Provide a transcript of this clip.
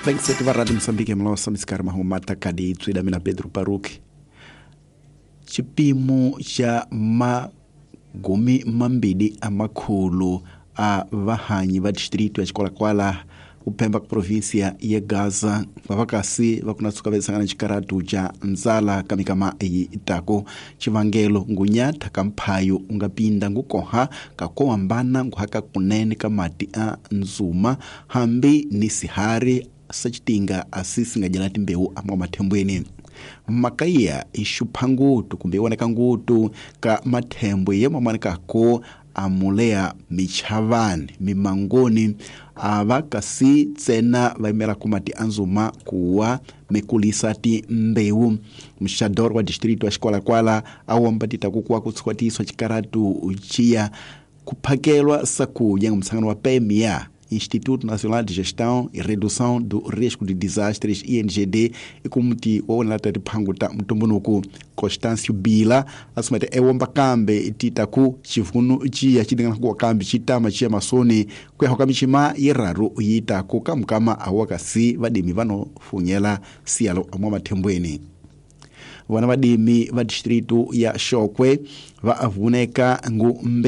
Vengiseti va Radio Mosambike mlosa misikari mahumata kadi tswida mina Pedro Paruki. Xipimo xa magumi mambili a makhulu a vahanyi va distrito ya Chikwalakwala kuphemba ku província ya Gaza vavakasi va kuna tsuka vesangana xikaratu xa ndzala ka mikama yi tako. Xivangelo ngunyatha ka mphayo u nga pinda ngukoha ka ko hambana nguhaka kunene ka mati a nzuma hambi ni sihari sacitinga asi singadyela timbewu amwa mathembweni. Makaya i xupha ngutu kumbe yi voneka ngutu ka mathembwe ye mamanekako amulea michavani mimangoni ava kasi tsena va yimelaka mati a nzuma kuwa mikulisa timbewu. Muxador wa distrito wa Xikwalakwala a womba titaku kuwa ku tshukatiswa xikaratu xiya kuphakelwa sakuya musangano wa PMA, Instituto Nacional de Gestão e Redução do Risco de Desastres, INGD, ikumuti wa wona ta tiphangu ta mutumbunuku. Constâncio Bila asumete ewomba kambe titaku xivunu ciya xi kuwa kambe xitama xiya masoni kuyaho ka mixima yiraru yitaku kamukama awa kasi vadimi vano funyela siyalo amwa mathembweni. Vona vadimi va distrito ya Xokwe va avuneka ngu